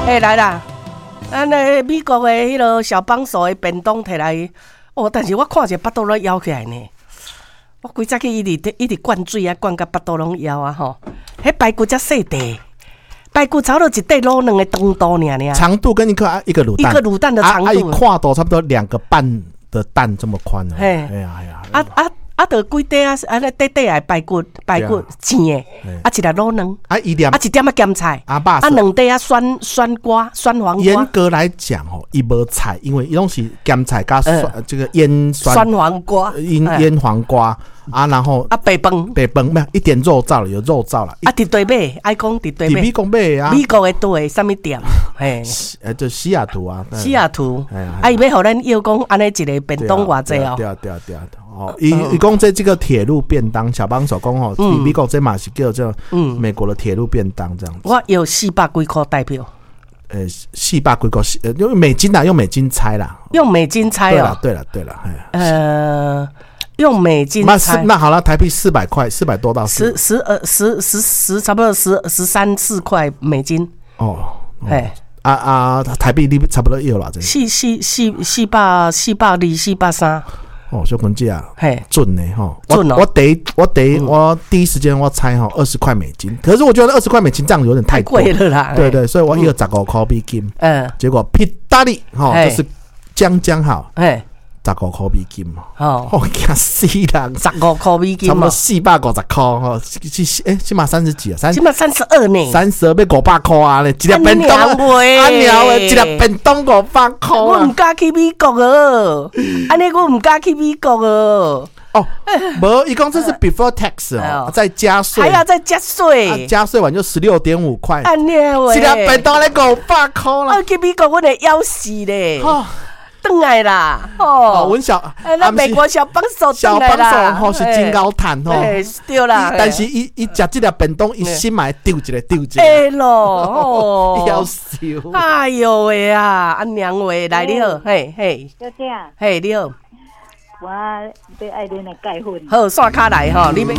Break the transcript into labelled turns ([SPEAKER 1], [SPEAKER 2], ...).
[SPEAKER 1] 欸，來啦，咱的美國的彼个小幫手的便當提來，哦，但是我看者腹肚攏枵起來呢。我規早起一直一直灌水啊，灌甲腹肚攏枵啊吼。彼排骨遮細塊，排骨差不多一塊滷卵的長度爾爾。
[SPEAKER 2] 長度跟一顆一個滷蛋，
[SPEAKER 1] 一個滷蛋的長度，
[SPEAKER 2] 啊，寬度差不多2個半的蛋這麼寬。
[SPEAKER 1] 嘿，
[SPEAKER 2] 哎呀哎呀，
[SPEAKER 1] 啊啊啊！著幾塊啊，按呢短短的排骨，排骨煎的，啊一粒滷卵，
[SPEAKER 2] 啊一點，
[SPEAKER 1] 啊一點仔鹹菜，
[SPEAKER 2] 啊啊
[SPEAKER 1] 兩塊仔酸酸瓜、酸黃瓜。
[SPEAKER 2] 嚴格來講吼，伊無菜，因為伊攏是鹹菜加酸，這個醃酸
[SPEAKER 1] 酸黃瓜，
[SPEAKER 2] 醃醃黃瓜啊，然後
[SPEAKER 1] 啊白飯，
[SPEAKER 2] 白飯沒有一點肉燥了，有肉燥了。
[SPEAKER 1] 啊，佇佗買，愛講佇佗買。
[SPEAKER 2] 佇美國買啊。
[SPEAKER 1] 美國的佗啥物店？嘿，
[SPEAKER 2] 就西雅圖啊。
[SPEAKER 1] 西雅圖。啊，伊欲予咱約講按呢一个便當偌濟哦。
[SPEAKER 2] 對啊對啊對啊。哦，伊伊講這這個鐵路便當，小幫手講吼，美國這嘛是叫做美國的鐵路便當這樣子。
[SPEAKER 1] 我有四百幾箍台票。
[SPEAKER 2] 四百幾塊，用美金啦，用美金猜啦。
[SPEAKER 1] 用美金猜哦。
[SPEAKER 2] 對了對了對了，
[SPEAKER 1] 用美金猜。
[SPEAKER 2] 那好了，台幣400塊，400多到
[SPEAKER 1] 十十二十十十，差不多十十三四塊美金。
[SPEAKER 2] 哦，哎，啊啊，台幣你差不多有了這。
[SPEAKER 1] 四四四四百四百二四百三。
[SPEAKER 2] 哦，小坤姐啊，
[SPEAKER 1] 嘿，
[SPEAKER 2] 準呢吼，
[SPEAKER 1] 準哦。
[SPEAKER 2] 我第一時間我猜吼20塊美金，可是我覺得20塊美金這樣有點太
[SPEAKER 1] 貴了啦。
[SPEAKER 2] 對對，所以我一個15塊美金，結果屁大利吼，就是將將好，十五塊美金
[SPEAKER 1] 哦，
[SPEAKER 2] 哦，驚死人！
[SPEAKER 1] 十五塊美金，
[SPEAKER 2] 差不多450塊吼，是欸，這馬三十幾啊，
[SPEAKER 1] 這馬32呢，32
[SPEAKER 2] 欲500塊啊咧，一粒便當，啊娘喂，一粒便當五百塊。
[SPEAKER 1] 我毋敢去美國哦，按呢我毋敢去美國哦。
[SPEAKER 2] 哦，無，伊講這是 before tax 哦，再加稅，
[SPEAKER 1] 還要再加稅，
[SPEAKER 2] 加稅完就16.5塊。
[SPEAKER 1] 按呢喂，
[SPEAKER 2] 一粒便當咧五百塊啦。
[SPEAKER 1] 我去美國，我會枵死咧。轉來啦！哦，
[SPEAKER 2] 阮小，
[SPEAKER 1] 那美國小幫手，
[SPEAKER 2] 小幫手吼是真𠢕趁吼，
[SPEAKER 1] 對啦。
[SPEAKER 2] 但是伊伊食這粒便當，伊心嘛會丟一个丟一个。
[SPEAKER 1] 會咯，哦，
[SPEAKER 2] 夭壽。
[SPEAKER 1] 哎喲喂啊，阿娘喂，來你好，嘿嘿，
[SPEAKER 3] 小姐，
[SPEAKER 1] 嘿你好，
[SPEAKER 3] 我欲愛恁的鈣粉。
[SPEAKER 1] 好，刷卡來吼，你欲。